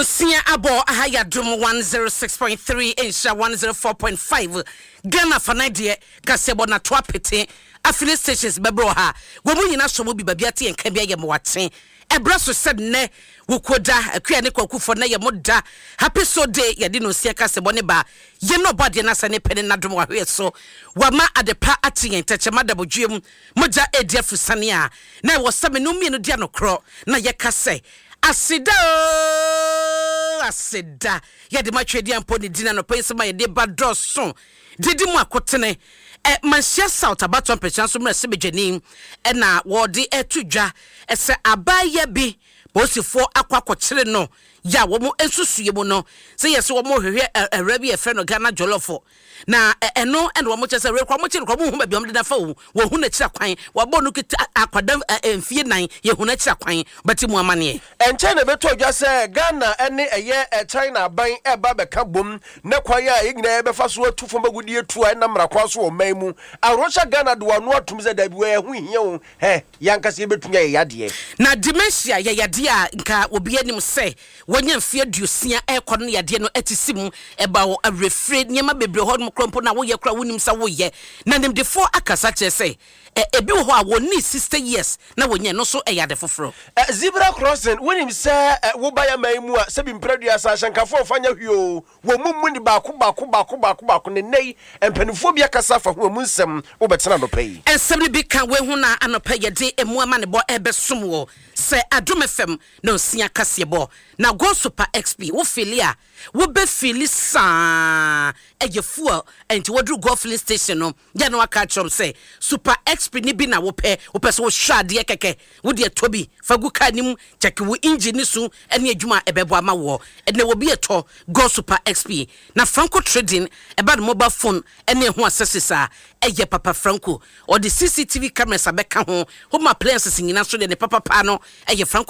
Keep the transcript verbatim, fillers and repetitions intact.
Nonsia abɔ aha yɛ Adom one oh six point three, Nhyira one oh four point five. Ghana fanan deɛ, kaseɛbɔ nato apete affiliate stations bɛbrɛ wɔ ha. Wɔn mu nyinaa sɔ mu bi baabi ate yɛn ka bi ayɛ mmoakye. Ɛbrɛ so sɛ nnɛ wokoda Akua ne Kwakufoɔ na yɛ mo da. Happy so day. Yɛde nonsia kaseɛbɔ ne ba yɛn na ɔbɔ adeɛ no asa ne pɛ ne nadom wahweɛ so wama adepa ate yɛn tɛkyɛma dabodwe mu mogya edi afusane a na ɛwɔ sɛ mene mmienu di anokorɔ na yɛka sɛ aseda o, aseda yɛde ma Twɛdi ampo ne din anɔpɛ yi sɛ ma yɛde ba dɔɔso didi mu akotene. Ɛ Manhyia South abatɔ mpɛkyɛn so mmerɛ sɛ badwani ɛna wɔde ɛto dwa ɛsɛ abaayɛ bi polisifoɔ akɔ akɔkyere no yɛ a wɔn nsusue mu no sɛ yɛ sɛ wɔn hwehwɛ ɛwura bi yɛfrɛ no Ghana Jollof na ɛno ɛna wɔn kyerɛ sɛ rekɔ wɔn kyerɛ kɔ wɔn hu baabi a wɔn deda fa o. Wɔn hu n'akyiri akwan. Wɔabɔ no kita akwadaa ɛ mfie nan yɛ hu n'akyiri akwan bɛte mu amaneɛ. Ɛnkyɛn na ɛbɛtɔ dwa sɛ Ghana ne ɛyɛ China aban ɛba bɛka bom na kwan a yɛn nyinaa yɛbɛfa so atu fam agudie tu a ɛnam mmara kwan so wɔ ɔman mu aworɔhyɛ. Ghana de wɔn ano atum sɛ dabi, wɔ ɛho hia o, hɛ yɛankasa yɛbɛtumi ayɛ yadeɛ. Na dementia yɛ yadeɛ a nka obi anim sɛ wɔnya mfeɛ aduosia ɛrekɔ no, yadeɛ no ɛte si mu ɛba wɔ awerɛfire nneɛma bebree hɔ nom korɔ mpo na woyɛ kora wonim sɛ woyɛ. Na nimdefoɔ akasa kyerɛ sɛ ɛ ebi wɔ hɔ a wɔnni sixty years na wɔnyɛ no nso ɛyɛ ade foforɔ. Ɛ zebra crossing, wonim sɛ ɛ woba yɛ man mu a, sɛbi mprɛduasa ahyɛnkafoɔ ɔfa nya hwee o, wɔn mu mu ni baako baako baako baako baako. Ne nnɛ yi mpanimfoɔ bi akasa afa ho, emu nsɛm wobɛtena anɔpa yi. Nsɛm no bi ka wehu na anɔpa yɛde emu ama ne bɔ ɛbɛsom wɔ sɛ Adom F M na osia kaseɛbɔ na Go Super X P wo fill a wobɛ fill saa ɛyɛ fuel. Nti wɔduru Go filling station no yɛ no aka akyerɛm sɛ Super X P ne bi na wopɛ. Wopɛ sɛ wohwɛ adeɛ kɛkɛ, wode ɛtɔ bi fa gu car no mu, kyɛke wo engine ne so ne adwuma a ɛbɛbɔ ama woɔ. Ɛnɛ wɔbi ɛtɔ Go Super X P. Na Franco Trading ɛba no mobile phone ɛne ɛho accessories a ɛyɛ papa. Franco ɔde C C T V cameras abɛka ho, home appliances nyinaa so deɛ ne papapa no ɛyɛ Franco.